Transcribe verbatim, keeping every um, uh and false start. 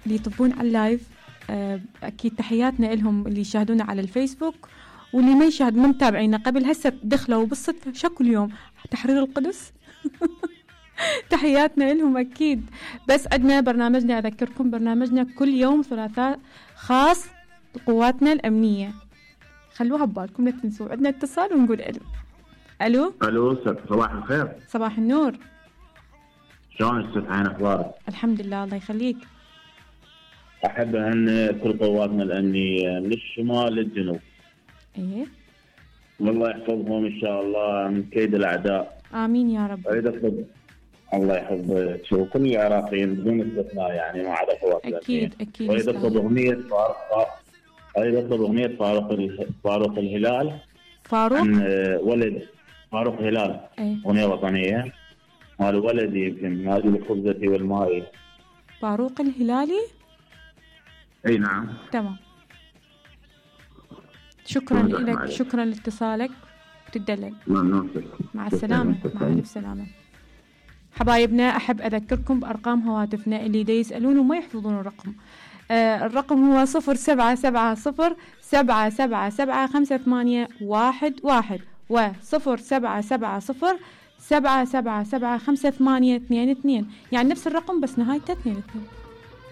اللي يطبون على اللايف أكيد تحياتنا لهم، اللي يشاهدونا على الفيسبوك واللي ما يشاهد ما متابعينا قبل هسه دخلوا بالصدفة شكل يوم تحرير القدس. تحياتنا لهم أكيد. بس عندنا برنامجنا، أذكركم برنامجنا كل يوم ثلاثاء خاص بقواتنا الأمنية، خلوها ببالكم لا تنسوا. عندنا اتصال ونقول ألو. ألو ألو صباح الخير. صباح النور. شلون استاذ أخبارك؟ الحمد لله الله يخليك. أحب أن كل قواتنا الأمنية من الشمال للجنوب إيه والله يحفظهم إن شاء الله من كيد الأعداء. آمين يا رب. أريد أطلب الله يحفظك وكل العراقيين بدون استثناء يعني ما عدا قواتنا أكيد أكيد. أريد أطلب أغنية فاروق أريد أطلب أغنية فاروق فاروق الهلال. فاروق عن ولد فاروق هلال. أيه. أغنية وطنية مال ولدي يمكن نادي الخبزة والماء. فاروق الهلالي. اي نعم تمام. شكرا لك، شكرا لاتصالك وتدلل. مع السلامة. مع ألف سلامة. حبايبنا أحب أذكركم بأرقام هواتفنا اللي دا يسألون وما يحفظون الرقم. آه الرقم هو صفر سبعة سبعة صفر سبعة سبعة سبعة خمسة ثمانية واحد واحد وصفر سبعة سبعة صفر سبعة سبعة سبعة خمسة ثمانية اثنين اثنين، يعني نفس الرقم بس نهايته اثنين اثنين.